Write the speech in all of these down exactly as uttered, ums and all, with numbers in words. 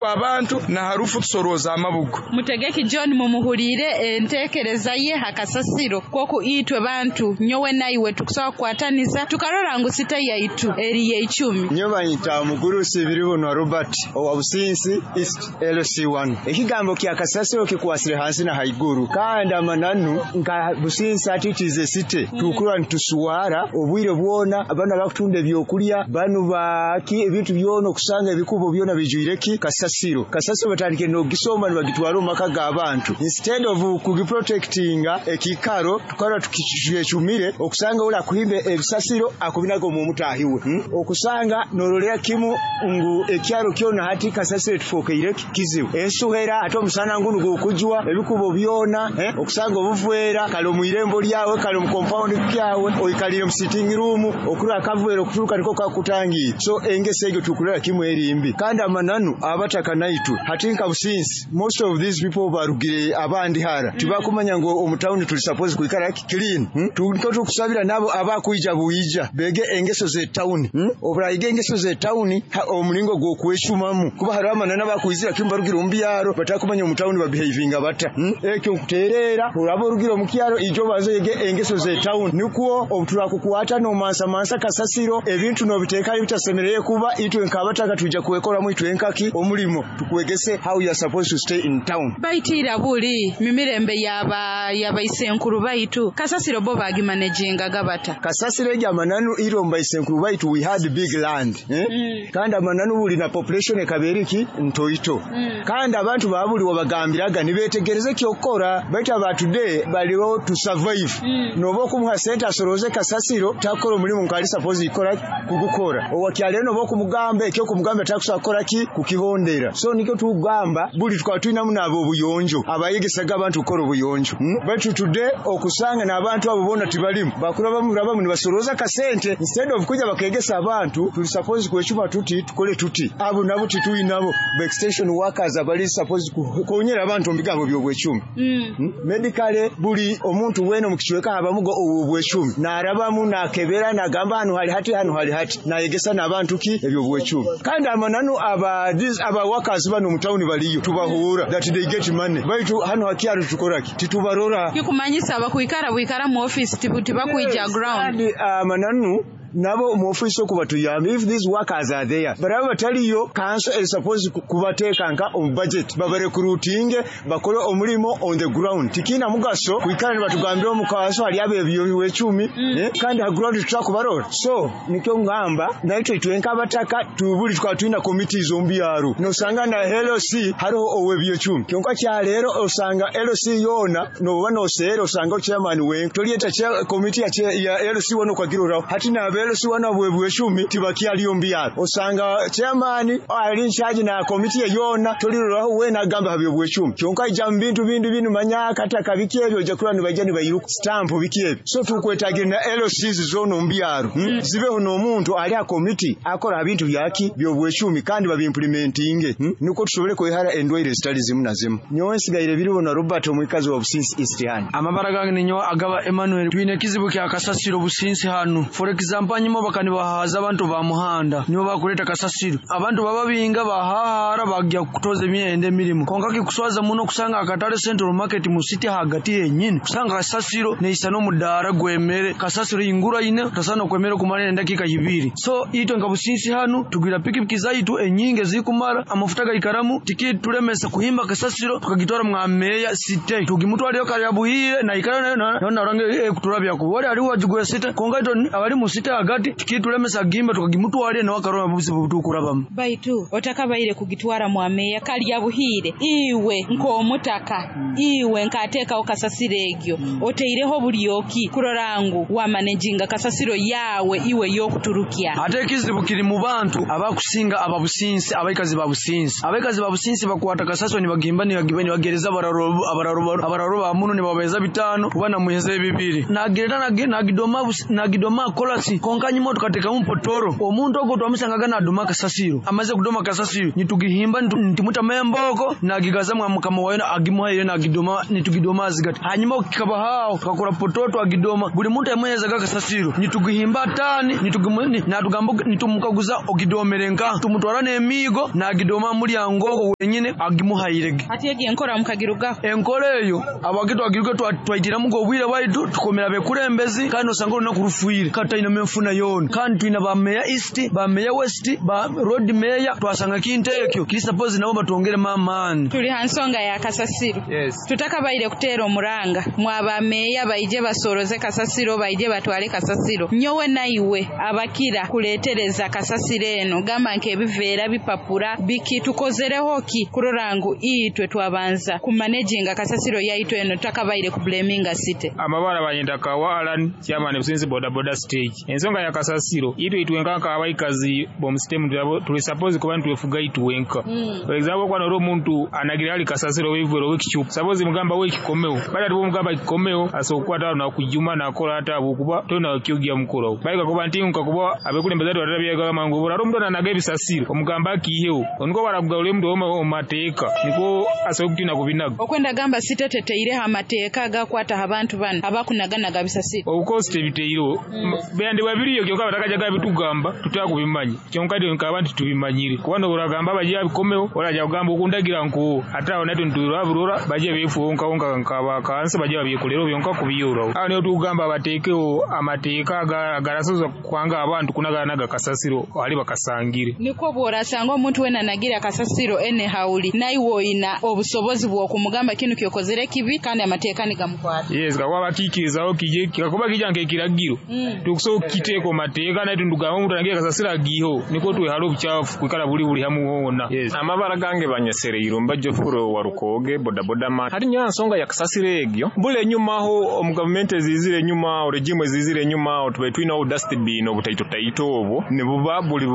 Abantu na harufu tusoroza amabugo. Mutegeki John, mumuhulire entekereza ye hakasasiro kwoku itwe bantu nyowe naiwe tukusobola kukwataniza tukarora ngu site yaitu eri yeicumi. Nyo banyita Mugurusi Biribonwa Robert owa Businsi East L C one. Ekigambo kya kasasiro kikwasire hansi na haiguru, kandi amananu nka Businsi atitize site tukura ntuswara obwire bwona. Abana bakutunda ebyokulya banu baki ebintu byona, okusanga ebikubo byona bijwireki kasasiro. Kasasiro batandike nogisoma nibagitwara omu maka g'abantu instead of kugiprotectinga ekikaro. Tukara tukicumire okusanga ula kuhimba ebisasiro akubinaga omu mutahiwe, hmm? Okusanga norolera kimu ngu ekyaro kyona hati kasasiro tufokeire kizibu, ensuhera ate omusana ngunu gukujwa ebikubo byona, eh? Okusanga obuvwera kale omu irembo lyawe, kale mu compound kyawe, oikalire mu sitting room, okura akavwera okuturuka niko kakutangiye. So engeso egyo tukulera kimu erimbi, kandi amananu abataka naitwe hati nka Businsi, most of these people barugire abandi hara, tibakumanya ngu omu town tuli suppose kuikara clean, hmm? Tuliko tukusabira nabo abakwija buija bege engeso ze town, hmm? Oburayiga engeso ze town, omulingo gw'okweshumamu, kuba hariho amananu abakwizira kimu barugire omu byaro batakumanya omu town babehavinga bata, hmm? Ekyo nkuterera uraba orugire omu kyaro, ijo baze yege engeso ze town, nikwo obuturakukwata nomansa mansa kasasiro, ebintu nobiteeka bitasemereye kuba itwe nkabataka tuja kwekoramu itwe nkaki omulimo tukwegese how you are supposed to stay in town. Baitiira buli mimirembe yaba yabaisenkuru baitu kasasiro bo bagimanejingaga bata? Kasasiro egi amananu iro mubaisenkuru baitu we had big land, eh? mm. Kandi amananu buli na population ekaberiki ntoito, mm. kandi abantu babuli wabagambiraga nibetegereze kyokora, baitu aba today baliho to survive. mm. Noba okumuha sente asoroze kasasiro, takora omulimu nkali suppose ikora kugukora. Owakyalero noba okumugamba ekyo kumugamba takusobola kukora ki kukihondera. So nikyo tugamba buli tukaba tulinamu nabo obuyonjo abayegesaga abantu kukora obuyonjo, hmm? Baitu today okusanga n'abantu abo bona tibalimu, bakura bamu rabamu nibasoroza kasente instead of kuja bakegesa abantu tuli suppose kwecuma tuti tukole tuti. Abo nabo tituyinabo ba extension workers abali suppose kukonyera abantu mu bigambo by'obwecumi, mm. hmm? Medically buli omuntu wene mu kicweka habamugo obwecumi, narabamu nakebera nagamba hano hali hati, hano hali hati, nayegesa n'abantu ki ebyobwecumi. Kandi amananu aba these aba workers bano mu town baliyo tubahura that they get money, baitu hano hakyaro tukoraki titubarora. Kikumanyisa abakwikara bwikara mu office tibakwija ground. Kandi amananu nabo mu office okubatuyamba, if these workers are there, baraba bataliyo, council is supposed kubateeka nka omu budget babarecruitinge bakole omulimo on the ground. Tikina mugaso kwikara nibatugambira omu council hali abo ebyobwecumi, mm. eh? Kandi ha ground tutakubarora. So nikyo ngamba naitwe itwe nk'abataka tubuli tukaba tulina committees omu byaro, nosanga na L C hariho ow'ebyecumi. Kyonka kyaleero osanga L C yoona noba noseera osanga chairman wenka tolyeta committee ya, ya L C wano kwagiroraho. Hati nabe L C wana bwebwecumi tibakyaliyo mu byaro, osanga chairman ali in charge na committee yona toliroraho wena agamba ha byobwecumi. Kyonka ija mu bintu bindi binu manya kataka biki ebyo ojja kurora nibajja nibayiruka stamp biki ebyo. So tukwetagira na L Cs zona omu byaro, hmm? mm. Zibeho n'omuntu ali ha committee akora bintu byaki byobwecumi kandi babiimplementinge, hmm? Nuko tusobole kwehara endwaire zitali zimu na zimu. Nyowe nsigaire Biribona Robert, omwikazi wa Businsi East hano. Amabara gange ninyo Agaba Emmanuel. Twine ekizibu kya kasasiro Businsi hano. For example, nyuma bakanibahaza abantu ba muhanda nibo bakuleta kasasiro, abantu baba binga bahahara bagya kutoza emyenda emirimu. Konka kikuswaza muno kusanga akatale Central Market mu city hagati yenyini kusanga kasasiro neisa n'omudaara gwemere kasasiro ingura ine tasana kwemere kumara endakika ibiri. So itwe nka Businsi hano tugwira pikipiki zaitu enyinge zikumara amafuta gaikaramu tikitulemesa kuhimba kasasiro tukagitwara mwameya site tugimutwaliyo kali buhire na ikara nayo nayo narange kuturabya kubole ali wajugwe site. Konka ito abali mu site hagati tikitulemesa gimba tukagimutwaliye na wakaroma buzibu butukurabamu. Baitu otakabaire kugitwara mwameya kali yabuhire, iwe nk'omutaka, mm. iwe nkateekawo kasasiro egyo, mm. oteireho bulyoki kurora ngu wamanejinga kasasiro yawe iwe y'okuturukya? Ate ekizibu kiri mu bantu abakusinga ababusinsi, abaikazi ba Businsi. Abaikazi ba Businsi bakwata kasasiro nibagimba nibagimba nibagereza abararo abararo abararo ba muno nibabeza bitano kuba namuheza bibiri nagereta nagidoma nagidoma kolasi. Konka nyuma tukatekamu potoro omuntu ogwo twamusangaga nadoma kasasiro amaze kudoma kasasiro nitugihimba nitimuta memboko nagigaza mukama wayo agimuhaire nagidoma nitugidoma azigati hanyuma kikaba hao tukakora potoro agidoma buli muntu amuhezaga kasasiro nitugihimba tani nitugimuni natugamba nitumukaguza ogidomerenka tumutwara n'emigo nagidoma mulyango wenyine agimuhairege ati egi enkora mukagirugaho enkora eyo abagitu agiruke twaitira mugo obwire bwaitu tukomera bekurembezi kandi osanga olunaku rufuire kandi taina menfuna yona kandi twina ba meya east ba meya west ba road meya twasanga kintu ekyo kiri suppose nabo batwongere mamani tuli hansonga ya kasasiro. Yes. Tutakabaire kuteera omuranga mwaba meya baije basoroze kasasiro baije batwale kasasiro nyowe naiwe abakira kuletereza kasasiro eno gamba nke ebiveera bipapura biki tukozereho ki kurora ngu itwe twabanza kumanaginga kasasiro yaitwe eno tutakabaire kublaminga site amabara banyenda kawa Alan chairman Businsi boda boda stage ensonga ya kasasiro itwe itwenka ka abaikazi bom system tuli suppose kuba ntwefuga itwenka mm. For example kwa noro muntu anagira ali kasasiro wevero wekichupa suppose mugamba we kikomeo bali atibo mugamba kikomeo asokwa tano na kujuma na kola hata bukuba tona kyogia mukoro baika kuba ntinka kuba abekulembeza twatabya kama ngobora ro mtu anaga ebisasiro omugamba kihewo oniko barakugaule mtu omateeka niko asokutina kubinaga okwenda gamba siteteteire amateeka gakwata abantu bano abakunaganaga bisasiro of course tebiteiro mm. Bende babiriyo kyoka batakajaga bitugamba tutakubimanya kyonka nka abantu tubimanyire kubano uragamba baje bikomeo oraja kugamba okundagira nko ata onatu nturabura baje befu onka onka nkaba kansa baje babyekolero byonka kubiyora aho niyo tugamba bateekeo amateeka agarasoza kwanga abantu kunaganaga kasasiro ali bakasangire niko bworasanga omuntu wena nagira kasasiro ene hauli naiwe oyina obusobozi bw'okumugamba kinu kyokozere kibi kandi amateeka nigamukwata. Yes, kakuba bakikirizaho kije kakuba kija nkekiragiro mm. Tukuso kiteko mateeka naye tundugamba omuntu anagira kasasiro agiho niko twehalo obuchafu kwikala buli buli hamu hona. Yes. Amabara gange banyesereire mbajo furo warukoge boda boda man hari nyansonga ya kasasiro egyo bule nyuma ho omu government ezizire nyuma regime ezizire nyuma tube twina dustbin obutaito taito obwo nibuba buli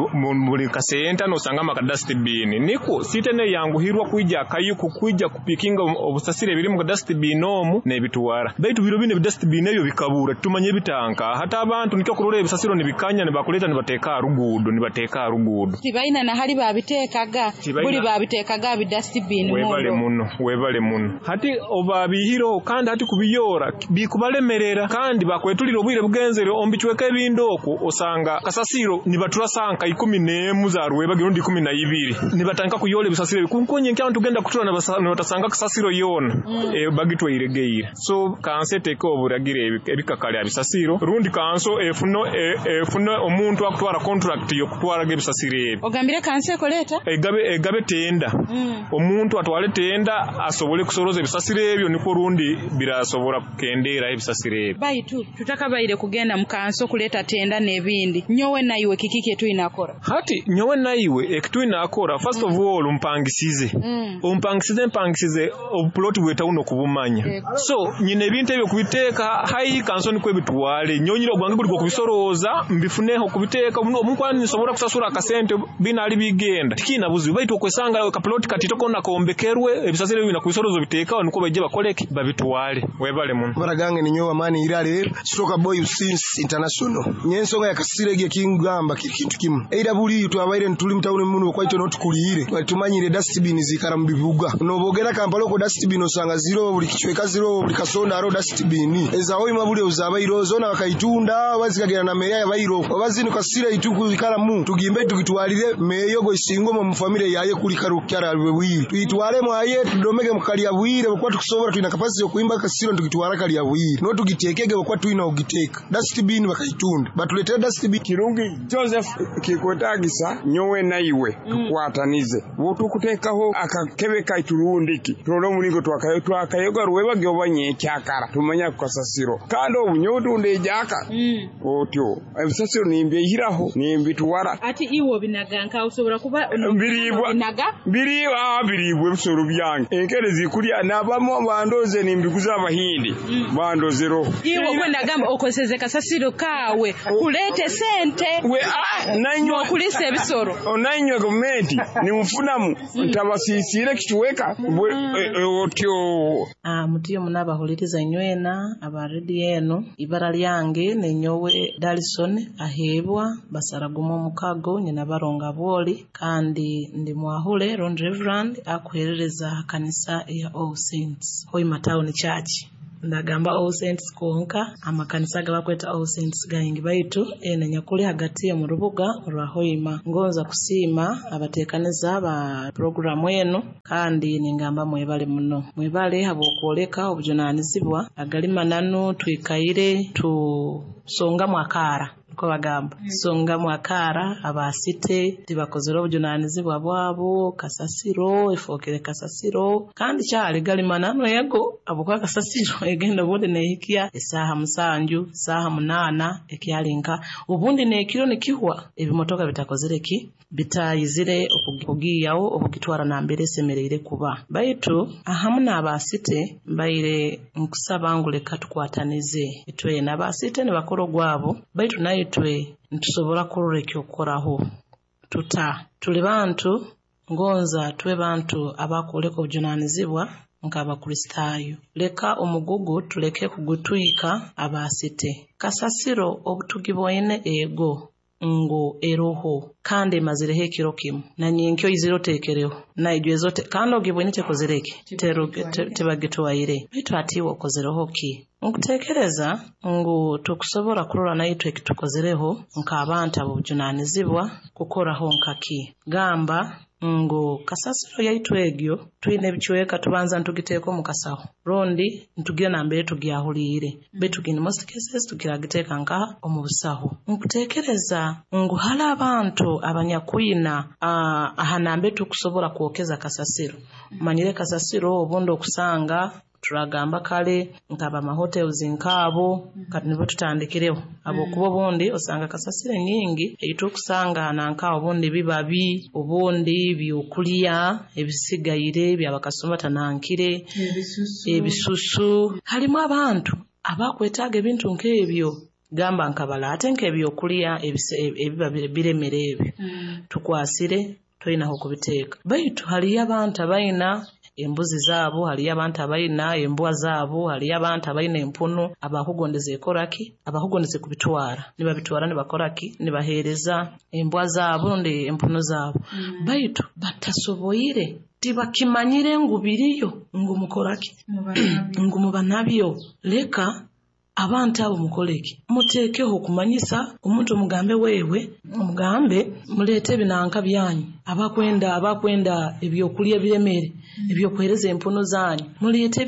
buli kasenta nosanga maka dustbin niko sitene yanguhirwa kuija kayuku kuija kupikinga obusasire biri mu dustbin omu nebituwara baitu biro bine dustbin ebyo bikabura tumanye bitanka hata abantu nikyo kurora ebisasiro nibikanya nibakuleta nibateka rugudo nibateka rugudo tibaina na hali babitekaga buli babitekaga bi dustbin webale muno webale muno hati obabihiro kandi hati kubiyora bikubalemerera kandi bakwetulira obwire bugenzere ombichweka ebindoko osanga kasasiro nibatura sanka ikumi n'emu za rweba girundi ikumi na ibiri nibatanka kuyola ebisasiro kunkonye nkya tugenda kutura nibatasanga kasasiro yona mm. E, bagitweiregeire so kanse teke oburagire ebikakali abisasiro rundi kanso efuno efuno omuntu akutwara contract yokutwara ebisasiro ebi ogambire kanse koleta egabe egabe tenda mm. Omuntu atwale tenda asobole kusoroza ebisasiro ebyo niko rundi birasobora kukendera ebisasiro ebi baitu tutakabaire kugenda mu kanso kuleta tenda n'ebindi nyowe naiwe kiki ketwinakora hati nyowe naiwe ekitwinakora first mm. of all umpangisize mm. umpangisize mpangisize obuplot bwetawuno kubumanya yeah. So nyine ebintu ebyo kubiteeka hayi kanso niko ebitwale nyonyira ogwange guli kubisoroza mbifuneho kubiteeka omukwani nsobora kusasura akasente binali bigenda tikina buzibu baitu okwesanga kaplot katitoko nakombekerwe ebisasiro bina kubisorozo biteeka niko baje bakoleke babitwale webale muno baragange ninyowa mani irale stroka boy since international nyensonga yakasire ge kingamba kintu kimu eira buli twabaire ntuli mtawuni muno kwaito notukulire twatumanyire dustbin zikara mu bibuga nobogera Kampala ko dustbin osanga zero buli kichweka zero buli kasonda aro dustbin ezaho imabuli ozabairo zona bakaitunda bazikagera na meya yabairo obazino kasire ituku ikara mu tugimbe tukitwalire meyo go isingo mu family yaye kuli karukyara bwiri tuitwale mwaye tudomege mukalya bwire bokwa tukusobora tuina capacity yokuimba kasiro tukitwara kalya bwire no tugitekege bokwa tuina ogiteka dustbin bakaitunda batuletera dustbin Kirungi Joseph kikwetagisa nyowe naiwe tukwatanize botukutekaho akakebe kaiturundiki turole omulingo twakayo twakayoga ruwebage obanye ekyakara tumanya kukasasiro kandi obunyo otunde ejaka mm. Otyo ebisasiro nimbyehiraho nimbitwara ati iwo binaga nka usobora kuba biribwa binaga biribwa biribwa ebisoro byange enkere zikulya nabamu bandoze nimbiguza abahindi mm. bandozero iwo kwenda gamba okoseze kasasiro kawe kulete sente we ah nanywa okulisa ebisoro onanywa gavumenti nimufunamu mm. ntabasisire kichweka mm. otyo ah mutiyo munabahuliriza nywena aba radio eno ibara lyange nenyowe Dalison Aheebwa basaragumu omukago nyina baronga bwoli kandi ndi mwahule Ron Reverend akuherereza ha kanisa ya All Saints Hoima Town Church. Ndagamba All Saints konka amakanisa gabakweta All Saints gaingi baitu ene nyakuli hagati mu rubuga rwa Hoima. Ngonza kusiima abateekaniza ba programu eno kandi ningamba mwebale muno, mwebale habw'okwoleka obujunanizibwa agali mananu twikaire tusongamu akaara niko bagamba songamu akaara abasite tibakozere obujunanizibwa bwabo kasasiro efookere kasasiro kandi kyali gali mananu ego habwokuba kasasiro egenda obundi neehikya esaaha musanju saaha munaana ekyali nka obundi n'ekiro nikihwa ebimotoka bitakozere ki bitayizire okugiiyawo okugitwara nambere esemereire kuba baitu ahamu n'abasite mbaire nkusaba ngu leka tukwatanize itwena abasite nibakora ogwabo baitu naitwe nitusobora kurora ekyokukoraho tuta tuli bantu ngonza tube bantu abakwoleka obujunanizibwa nk'Abakristaayo. Leka omugugu tuleke kugutwika abasite. Kasasiro obutugiboine ego ngu eroho kandi emazireho ekiro kimu nanyenkyo izire oteekereho naijweza ote kandi ogibwine tekozereki tebagitwaire baitu ati iwe okozereho ki? Nkuteekereza ngu tukusobora kurora naitwe ekitukozereho nk'abantu ab'obujunanizibwa kukoraho nkaki gamba ngu kasasiro yaitu egyo twine ebicweka tubanza ntugiteeka omu kasaho rundi ntugira nambere tugyahuliire baitu in most cases tukiragiteeka nkaha omu busaho. Nkuteekereza ngu hali abantu abanyakwina aha nambere tukusobora kwokeza kasasiro manyire kasasiro obundi okusanga turagamba kale nkaba mahotels nkaabo kati nibo tutandikireho habwokuba obundi osanga kasasiro nyingi eitukusanga nanka obundi bibabi obundi byokulya ebisigaire byabakasoma tanankire ebisusu halimu abantu abakwetaaga ebintu nk'ebyo gamba nkabala ate nk'ebyokulya ebiba biremere ebyo tukwasire toyinaho kubiteeka baitu haliyo abantu abayina embuzi zaabo haliyo abantu abayina embwa zaabo haliyo abantu abayina empunu abakugondeza ekoraki abakugondeza kubitwara nibabitwara nibakoraki nibaheereza embwa zaabo rundi empunu zaabo mm. Baitu batasoboire tibakimanyire ngu biriyo ngu mukoraki ngu muba nabyo leka abantu abo mukoleki muteekeho okumanyisa omuntu omugambe wewe omugambe muleete ebinanka byanyu abakwenda abakwenda ebyokulya ebiremere ebyokuhereza empunu zanyu muleete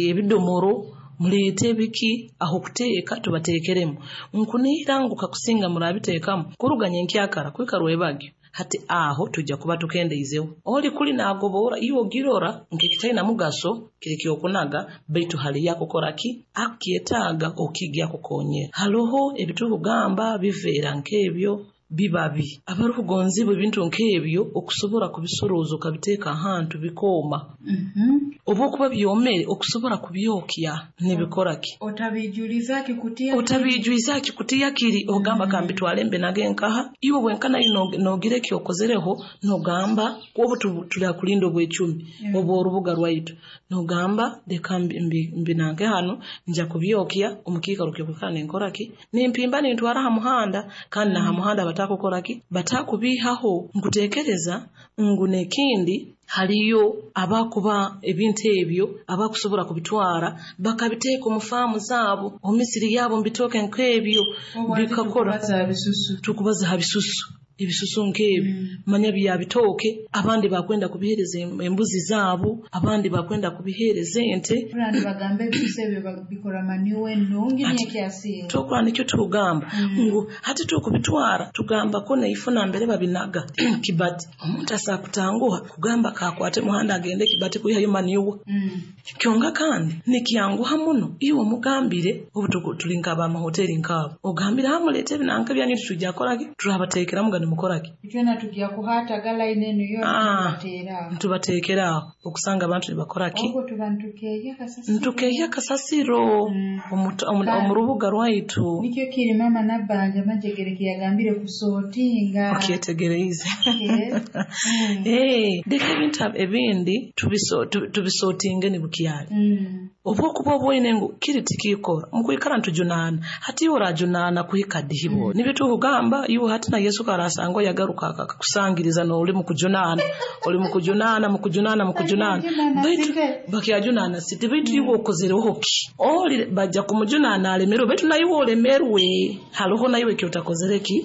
ebidomoro muleete ebiki aho kuteeka tubateekeremu nkuniira ngu kakusinga murabiteekamu kuruganya enkyakara kwikarwa ebagyo hati aho tujja kuba tukendeizeho oli kuli nagobora iwe ogirora nkekitaina mugaso kiri kyokunaga baitu hali yakukoraki akukyetaaga okigya kukonyera haloho ebitukugamba biveera nk'ebyo bibabi abarukugonzibwa ebintu nk'ebyo okusobora kubisoroza okabiteeka ahantu bikooma mm -hmm. oba okuba byomere okusobora kubyokya nibikoraki otabijuliza kikutiya otabijuliza kikutiya kiri ogamba mm -hmm. kambitwale mbe nage nkaha iwe bwenkana nogira ekyokozereho nogamba obu tulakulinda obwecumi mm -hmm. oba orubuga rwaitu nogamba leka mbinange hano nja kubyokya omukiikaro kyokwikara nenkoraki nimpimba nintwara ha muhanda kandi na ha muhanda batakukoraki batakubihaho. Nkuteekereza ngu n'ekindi haliyo abakuba ebintu ebyo abakusobora kubitwara bakabiteeka omu faamu zaabo omu misiri yaabo mbitooke nk'ebyo bikakora tukubaza ha bisusu ebisusu nk'ebyo mm. manya byabitooke abandi bakwenda kubihereza embuzi zaabo abandi bakwenda kubihereza ente bagamba ebisusu ebyo bikora maniwe ennungi n'ekyasinga tokora nikyo tugamba mm. ngu hati tukubitwara tugamba ko neifuna mbere babinaga kibati omuntu asakutanguha kugamba kakwate muhanda agende kibati kuyihayo maniwa mm. kyonga kandi nikyanguha muno iwe omugambire obu tuli nk'abamahoteri nk'abo ogambire hamuleete ebinanka byanyu titujja kukoraki turabateekeramu gani mukoraki itwena tujja kuhata galaini eno yo ntubateekera aho okusanga abantu nibakoraki obwo tuba ntukeeya kasasiro ntukeeya kasasiro omu rubuga rwaitu nikyo kiri mama Nabbanja Majegere kiyagambire kusootinga okyetegereize leka ebintu ebindi tubisootinge nibukyali mm. Obwokuba obwoine ngu kiri tikikora mukwikara ntujunana hati iwe orajunana kuhika dihibo nibyo tukugamba iwe hati na Yesu karasanga yagaruka akakusangiriza n'oli mukujunana oli mukujunana mukujunana mukujunana baitu bakyajunana siti baitu iwe okozereho ki oli bajja kumujunana alemerwe baitu na iwe olemerwe hariho na iwe ekyotakozere ki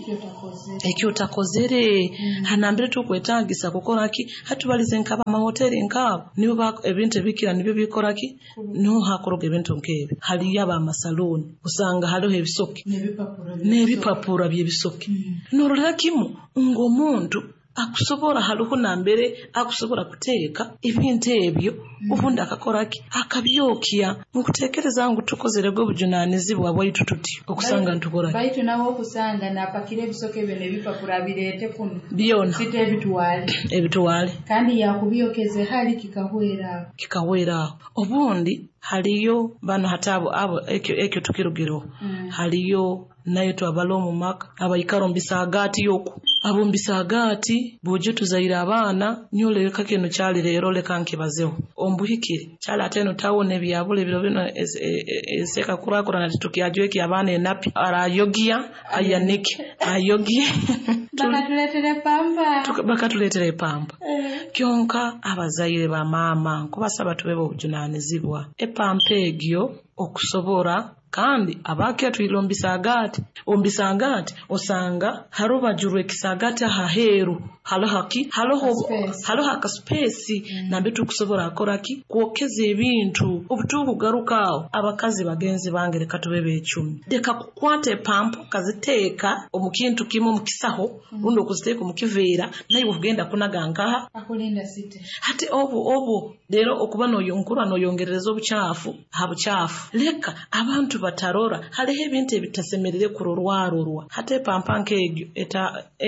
ekyotakozere hanambire tukwetagisa kukora ki hatubalize nkaba amahoteli nkabo nibo ebintu ebikira nibyo bikora ki no hakoroga ebintu nkebi haliyo abamasaluni usanga hariho ebisoke n'ebipapura by'ebisoke norolera kimu ng'omuntu akusobora hariho nambere akusobora kuteeka ebintu ebyo ubundi akakora ki akabyokya nkutekereza ngu tukozere gwe bujunanizibwa bwaitu tuti okusanga ntukora baitu nawe okusanga napakira ebisoke ebyo n'ebipapura bireete kuno byona site ebitwale ebitwale kandi yakubyokeze hali kikahwera kikahwera obundi haliyo bano hatabo abo ekyo ekyo tukirugiro mm. haliyo nayo twabala omu maka abaikara omu bisaagaati yoku abo omu bisaagaati buje tuzaire abaana nyoleka kino kyali leero leka nkibazeho ombuhikire kyali ate eno tawuni ebyabula ebiro bino eseka kurakurana titukyajweki abaana enapi arayogia ayanike ayogie bakatuleetera epampa bakatuleetera epampa kyonka abazaire ba maama nkubasaba tubebe obujunanizibwa epampa egyo okusobora kandi abakya twile ombisagati ombisagati osanga harubajurwe kisagati ahaheru haloho ki haloho haloho akaspace mm. nambe tukusobora akora ki kwokeza ebintu obutuku garukawo abakazi bagenzi bange reka tubebe ecumi deka kukwata epampa kaziteeka omukintu kimu mukisaho mm. rundi okuziteeka omukiveera naye okugenda kunaga nkaha akulinda site hati obu obu lero okuba noyonkura noyongerereza obuchafu ha buchafu leka abantu batarora haliho ebintu ebitasemerere kurorwarorwa hata epampa nk'egyo eta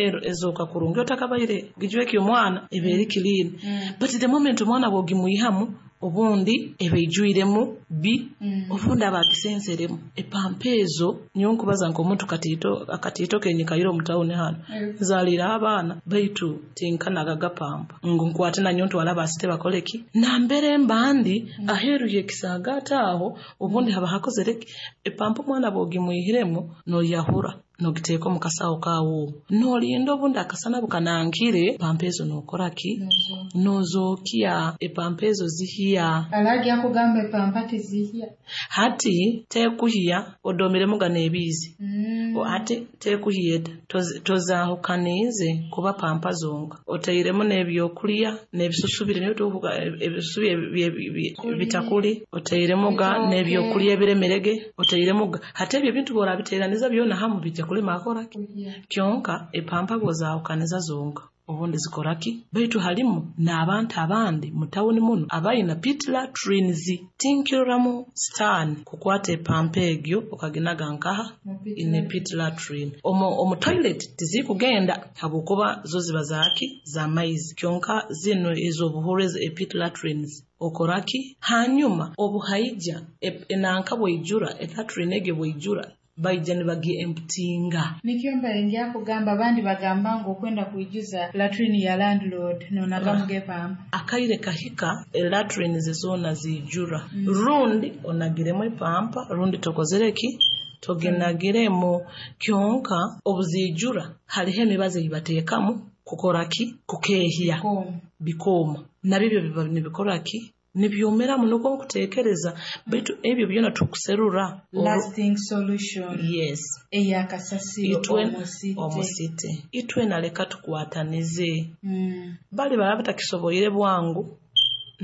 ero ezoka kurungi otakabaire gijweki omwana ebeeri clean mm. but the moment omwana bw'ogimwihamu obundi ebeijwiremu bi mm. obundi abagisenseremu epampa ezo niyo nkubaza nk'omuntu katiito akatiito kenyikaire omu tawuni hano nzaliire abaana baitu tinkanaga gapampa ngu nkwate nanyo ntwala abasite bakoleki nambere mbandi mm. aheeru y'ekisaagaati aho obundi haba hakozereki epampa omwana bw'ogimwihiremu noyahura nogiteeka omu kasawo kaawo nolinda obundi akasana bukanankire pampa ezo nokora ki nozookya epampa ezo zihiya alagi akugamba epampa tizihya hati tekuhiya odomiremu gano ebiizi mm. hati tekuhiya eta tozahukaniize kuba pampa zonka oteiremu n'ebyokulya n'ebisusu biri nibyo ebisusu bitakuli oteiremu ga n'ebyokulya ebiremerege oteiremu ga hati ebyo ebintu bworabiteeraniza byona hamu bijja kulima akoraki kyonka epampa bwozahukaniza zonka obundi zikoraki baitu halimu n'abantu abandi mu tawuni muno abayina pit latrines tinkiroramu sitaani kukwata epampa egyo okaginaga nkaha ine pit latrine omu, omu toilet tizikugenda habwokuba zo ziba zaki z'amaizi kyonka zino ez'obuhuru e pit latrines okoraki hanyuma obuhaija enanka bweijura elatrine egyo bweijura baija nibagi emptinga nikyo mbalengi kugamba abandi bagamba ngu okwenda kuijuza latrine ya landlord nonagamu epampa akaire kahika latrine zona zijura mm. rundi onagiremu epampa rundi tokozereki toginagiremu kyonka obuzijura hariho emibazi eyibateekamu kukoraki kukehya bikooma nabyo biba nibikoraki nibyomeramu nukwo nkutekereza baitu ebyo byona tukuserura lasting solution yes eyakasasiro omusite omusite itwe naleka tukwatanize mm. bali baba batakisoboire bwangu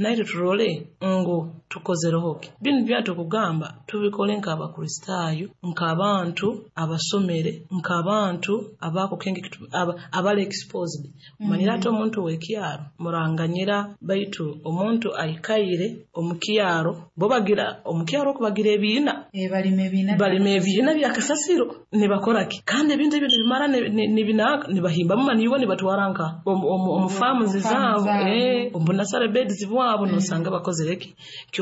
naitwe turole ngu tukozerehoki binu byatukugamba tubikole nk'abakristaayo nk'abantu abasomere nk'abantu abakukenge aba, abali exposed umanyira ate omuntu w'ekyaro muranganyira baitu omuntu aikaire omukyaro bo bagira omukyaro okubagira ebiina e, balima ebiina balima ebiina byakasasiro nibakoraki kandi ebintu ebyo nibimara nibinaka nibahimbamu maniwe nibatwara nka omu farms zaabo eh omu nursery beds bwabo nosanga bakozereki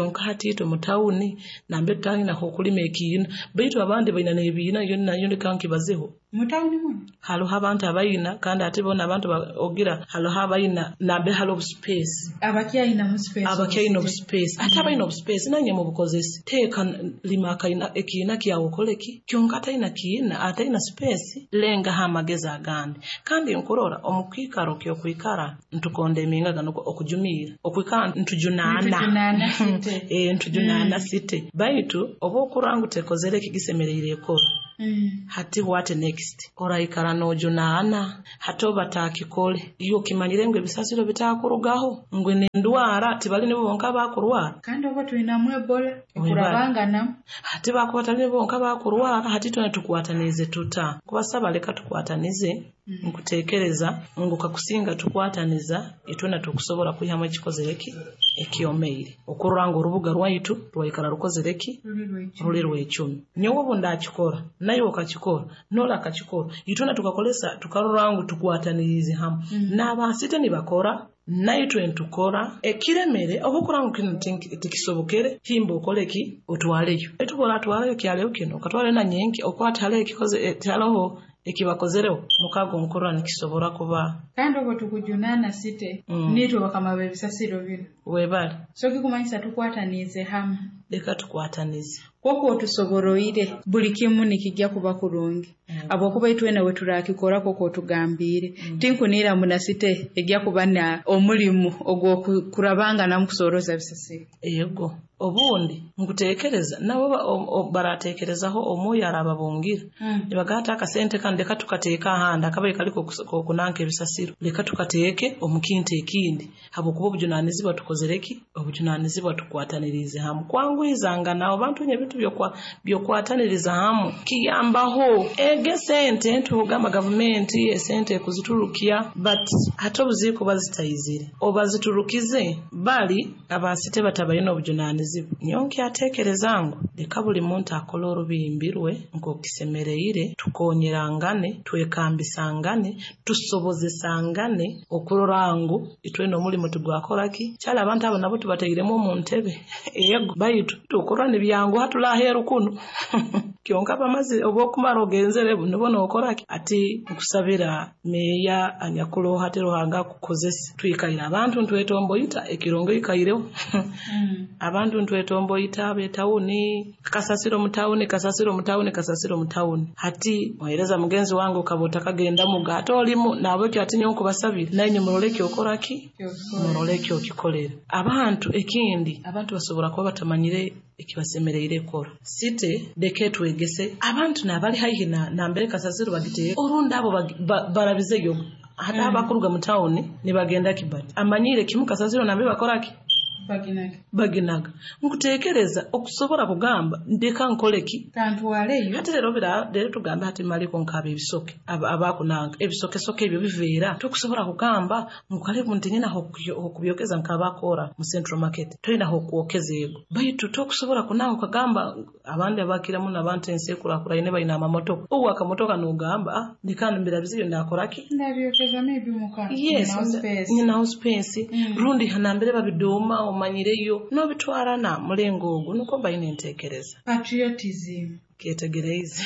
kyonka hati itwe mu tawuni nambe tutangina okulima ekiina baitu abandi baina n'ebiina yo nayo leka nkibazeho Mutawuni muno Hariho abantu abayina, kandi ate bona abantu ogira hariho abayina nambe hariho obuspace. Abakyayina mu space. Abakyayina obuspace. Ate abayina obuspace nanye mubukozese. Teeka lima akaina ekiina kyawe okoleki. Kyonka atayina kiina, atayina space, lengaho amagezi agandi. Kandi nkurora omu kiikaro ky'okwikara ntukonda emingaga nukwo okujumiira. Okwikara ntujunaana. Ntujunaana site. Eh, ntujunaana site. Baitu oba okurora ngu tekozere ekigisemereire ekora. Mm. Hati what next? Oraikara nojunaana hati oba takikole. Iyo okimanyire ngu ebisasiro bitakurugaho ngu nendwara tibali nibo bonka bakurwara. Kandi oba twinamu Ebola ekurabanganamu. Hati bakuba tali nibo bonka bakurwara, hati twena tukwatanize tuta. Kubasaba leka tukwatanize. Mm. Nkutekereza ngu kakusinga tukwataniza itwena tukusobola kwihamu ekikozere ki ekyomeire. Okurora ngu orubuga rwaitu rwaikara rukozere ki ruli rw'ecumi. Nyowe obu ndakikora, naye okakikora, nola akakikora, itwena tukakolesa tukarora ngu tukwatanirize hamwe. Mm. N'abasite nibakora, naitwe ntukora ekiremere obukora ngu kino tikisobokere himba okole ki otwaleyo. Etukola atwaleyo kyaleyo kino okatwale na nyenki okwata hale ekikoze haloho ekibakozereho mukago nkurora nikisobora kuba. Kandi obwo tukujunana site mm. Nitwe bakama b'ebisasiro bino webale. So kikumanyisa tukwatanize hamwe. Leka tukwatanize. Kwokwo otusoboroire buli kimu nikijja kuba kurungi. Mm. Habwokuba itwena we turakikora kwokwo otugambiire. Mm. Tinkunira munasite ejja kuba na omulimu ogw'okurabanganamu kusoroza bisasiro. Yego. Obundi nkutekereza nabo baratekerezaho omwoyo arababungira. Mm. Nibagata akasente kandi leka tukateeka ahandi akabaye kaliko okunanka ebisasiro. Leka tukateeke omu kintu ekindi. Habwokuba obujunanizibwa tukozereki? Obujunanizibwa tukwatanirize hamwe. Kwangwizanga nabo bantu nye ebintu byokwa byokwataniriza hamwe kiyambaho ege sente ntugamba gavumenti esente kuziturukia, but hata obuziiko bazitayizire obaziturukize bali abasite batabayina obujunanizibwa. Nyo nkyatekereza ngu leka buli muntu akola orubimbi rwe nk'okisemereire, tukonyerangane, twekambisangane, tusobozesangane okurora ngu itwena omulimu tugwakoraki. Kyali abantu abo nabo tubateiremu omu ntebe. Yego, baitu tukorwa nibyangu hatulaheru kuno. Kyonka bamaze obwokumara ogenzere nibo nokoraki. Ati nkusabira meya anyakuloha ati Ruhanga kukozesa. Twikaire abantu ntwetomboita ekirongo ikaireho. Mm. Abantu ntwetomboita betawuni kasasiro mutawuni kasasiro mutawuni kasasiro mutawuni. Hati muhereza mugenzi wangu ukabota kagenda mugato olimu nabwekyo ati nyo nkubasabira naye muroleke okoraki muroleke okikolera. Abantu ekindi abantu basobora kuba batamanyire ekibasemereire kora. Site deke twegese abantu nabali haihi na nambere kasasiro bagiteye orundi abo ba, barabizeyo hata Mm. abakuruga mu town nibagenda Kibati amanyire kimu kasasiro nambe bakoraki Baginaga. Baginaga. Nkutekereza okusobora kugamba ndeka nkoleki kantwaleyo. Ate rero bira rero tugambe hati maliko nkaba ebisoke abakunanga ebisoke soke ebyo biveera tokusobora kugamba nkalebu nti nyina okubyokeza nkabakora mu Central Market toyina hokwokeza ego baitu tokusobora kunanga kugamba abandi abakira muno abantu ensekura kuraine bayina amamotoka ubu akamotoka nogamba ah ndikandi mbirabiziyo ndakoraki ndabyokeza maybe muka. Yes, nyina space. Mm. Rundi hanambere babidoma omanyireyo nobitwara mulengo ogwo nuko mbayina entekereza. Patriotism. Kyetegereze.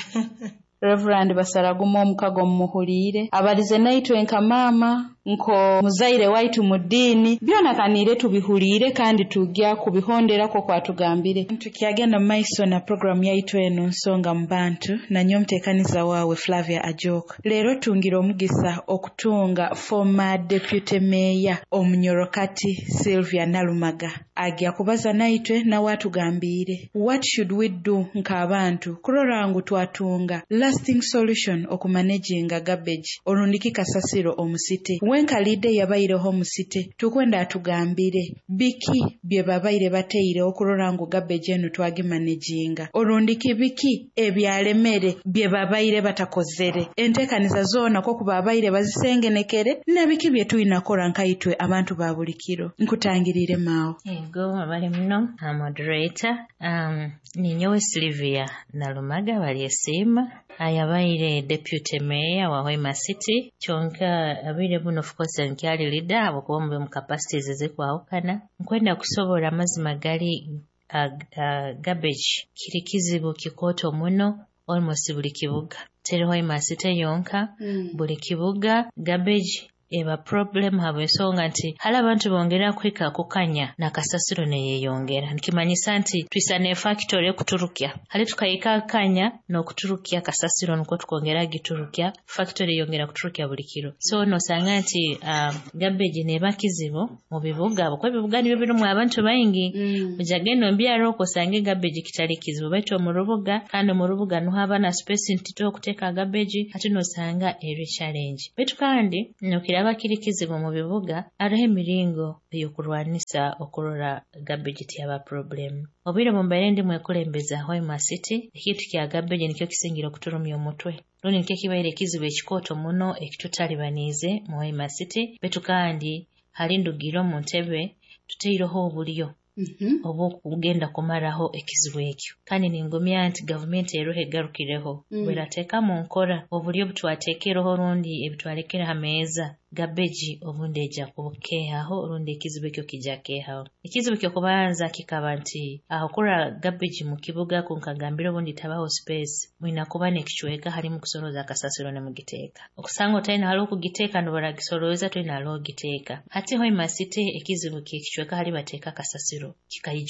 Reverend Basaraguma omukago mumuhuliire abalize naitwe nka mama nko muzaire waitu mu ddiini byona kaniire tubihuliire kandi tujja kubihonderako kwatugambire. Tukyagenda mu maiso na programu yaitu eno nsonga mu bantu nanyo omuteekaniza waawe Flavia Ajok. Leero tungira omugisa okutunga former deputy mayor omunyorokati Sylvia Nalumaga agya kubaza naitwe nawe atugambiire what should we do nk'abantu kurora ngu twatunga lasting solution okumanaginga garbage orundiki kasasiro omusite. Wenkalidde yabaireho omusite tukwenda atugambire biki bye babaire bateire okurora ngu garbage enu twagimanaginga orundiki biki ebyalemere bye babaire batakozere enteekaniza zoona kwo babaire bazisengenekere na biki bye tuyinakora nkaitwe abantu ba buli kiro. Nkutangirire maawo. Ego abali muno a moderator um, ninyowe Sylvia Nalumaga balyesiima ayabaire deputy mayor wa Hoima City kyonka abire buno of course nkyali leader abakuba mu mu capacities ezikwawukana nkwenda kusobola amazima gali uh, uh, garbage kiri kizibu kikooto muno almost buli kibuga. Teri Hoima City yonka, Mm. buli kibuga garbage eba problem habw'ensonga nti hali abantu bongera kuhika kukanya nakasasiro neyeyongera. Nikimanyisa nti twisa ne factory ekuturukya, hali tukahika akanya n'okuturukya kasasiro nukwo tukongera giturukya, factory eyongera kuturukya buli kiro. So nosanga nti um, garbage neba kizibu mu bibuga, kuba ebibuga nibyo birimu abantu baingi. Mm. Ojagenda omu byaro okwo osange garbage kitali kizibu, baitu omu rubuga, kandi omu rubuga nuho haba na space ntito okuteeka garbage, hati nosanga eri challenge. Baitu kandi nokiraba kiri kizibu mu bibuga, hariho emiringo ey'okurwanisa okurora garbage tiyaba problem. Obwire bumbaire ndi mwekulembeza Hoima City, ekintu kya garbage nikyo kisingire okuturumya omutwe, rundi nikyo kibaire ekizibu ekikooto muno ekitutalibaniize mu Hoima City. Baitu kandi hali ndugire omu ntebe tuteireho obulyo Mhm. obw'okugenda kumaraho ekizibu ekyo, kandi ningumya nti gavumenti eroho egarukireho Mm. bwerateeka mu nkora obulyo obutwateekereho rundi ebitwalekere ha meeza, garbage obundi ejja kukeehaho rundi ekizibu ekyo kijja keehaho. Ekizibu ky'okubanza kikaba nti aho kurora garbage mu kibuga, kunkagambira obundi tabaho space, mwina kuba n'ekicweka halimu kusorooza akasasiro nemugiteeka. Okusanga otalina hali okugiteeka, nibaragisorooza toyina hali ogiteeka. Hati Hoima City ekizibu ky'ekicweka hali bateeka akasasiro kikaija.